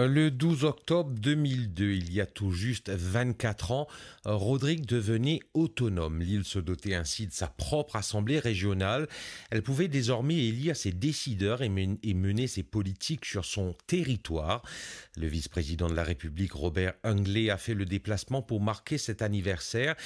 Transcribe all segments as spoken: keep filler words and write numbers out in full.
Le douze octobre deux mille deux, il y a tout juste vingt-quatre ans, Rodrigue devenait autonome. L'île se dotait ainsi de sa propre assemblée régionale. Elle pouvait désormais élire ses décideurs et men-, et mener ses politiques sur son territoire. Le vice-président de la République, Robert Hunglet, a fait le déplacement pour marquer cet anniversaire.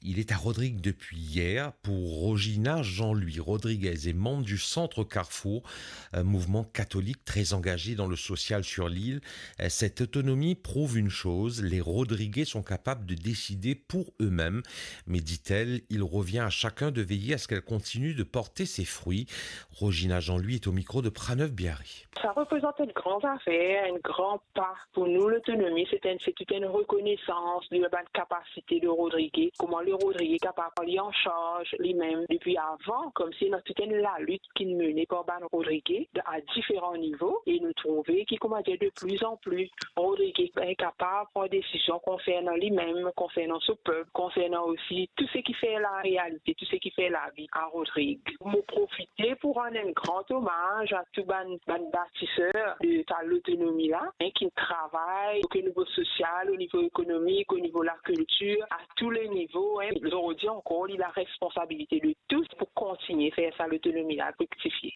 Il est à Rodrigue depuis hier. Pour Rogina Jean-Louis, Rodriguez est membre du Centre Carrefour, un mouvement catholique très engagé dans le social sur l'île. Cette autonomie prouve une chose, les Rodriguais sont capables de décider pour eux-mêmes. Mais, dit-elle, il revient à chacun de veiller à ce qu'elle continue de porter ses fruits. Rogina Jean-Louis est au micro de Pranov Biari. Sa reprezant enn gran zafer, enn gran pa pou nou. Lotonomi, se enn, se tou enn rekonesans de bann kapasite de Rodrigué, kouma le Rodrigué kapav pran li an sarz limem depi avan, koumsi ena tou enn lalit ki mene par bann Rodrigué de, a diferan nivo, e nou trouve ki, kouma dir, de plizanpli Rodrigué kapav pran desizion konsernan limem, konsernan so pep, konsernan osi tou seki fer larealite, tou seki fer lavi a Rodrig. Mo profite pou rann enn gran omaz a tou bann, bann batiser de sa lotonomi la, hein, ki travay o nivo sosial, o nivo ekonomik, o nivo lakiltir, a tou le nivo, hein. Zordi ankor, li la responsabilite de tous pou kontigne fer sa lotonomi la friktifie.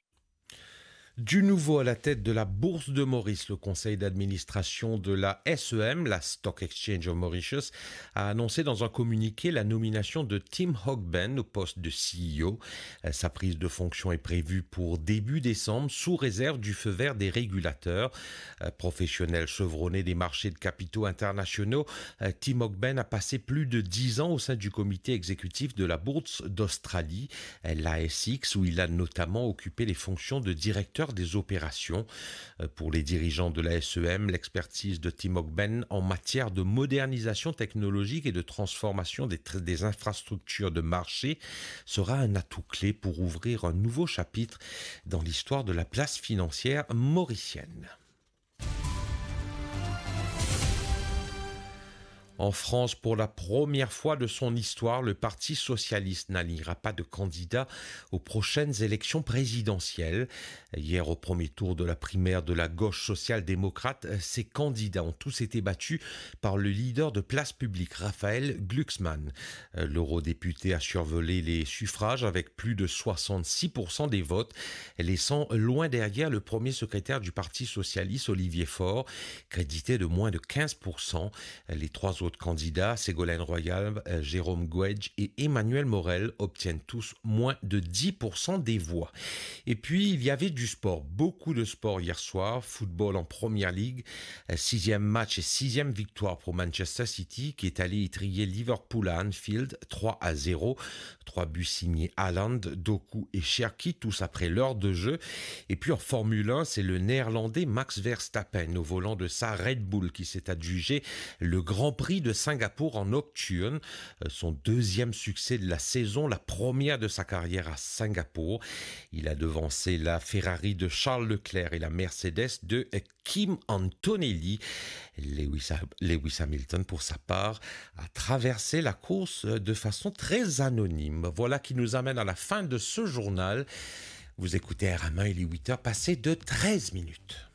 Du nouveau à la tête de la Bourse de Maurice, le conseil d'administration de la S E M, la Stock Exchange of Mauritius, a annoncé dans un communiqué la nomination de Tim Hogben au poste de C E O. Sa prise de fonction est prévue pour début décembre, sous réserve du feu vert des régulateurs. Professionnel chevronné des marchés de capitaux internationaux, Tim Hogben a passé plus de dix ans au sein du comité exécutif de la Bourse d'Australie, l'A S X, où il a notamment occupé les fonctions de directeur des opérations. Pour les dirigeants de la S E M, l'expertise de Tim Hogben en matière de modernisation technologique et de transformation des tr-, des infrastructures de marché sera un atout clé pour ouvrir un nouveau chapitre dans l'histoire de la place financière mauricienne. En France, pour la première fois de son histoire, le Parti socialiste n'alignera pas de candidat aux prochaines élections présidentielles. Hier, au premier tour de la primaire de la gauche social-démocrate, ses candidats ont tous été battus par le leader de Place Publique, Raphaël Glucksmann. L'eurodéputé a survolé les suffrages avec plus de soixante-six pour cent des votes, laissant loin derrière le premier secrétaire du Parti socialiste, Olivier Faure, crédité de moins de quinze pour cent. Les trois autres candidats, Ségolène Royal, euh, Jérôme Guedj et Emmanuel Morel, obtiennent tous moins de dix pour cent des voix. Et puis, il y avait du sport, beaucoup de sport hier soir. Football en première ligue, euh, sixième match et sixième victoire pour Manchester City, qui est allé étriller Liverpool à Anfield, trois à zéro. Trois buts signés Haaland, Doku et Cherki, tous après l'heure de jeu. Et puis en Formule un, c'est le Néerlandais Max Verstappen au volant de sa Red Bull qui s'est adjugé le Grand Prix de Singapour en nocturne. Euh, son deuxième succès de la saison, la première de sa carrière à Singapour. Il a devancé la Ferrari de Charles Leclerc et la Mercedes de Kim Antonelli. Lewis, Lewis Hamilton, pour sa part, a traversé la course de façon très anonyme. Voilà qui nous amène à la fin de ce journal. Vous écoutez R M un, il est huit heures passées de treize minutes.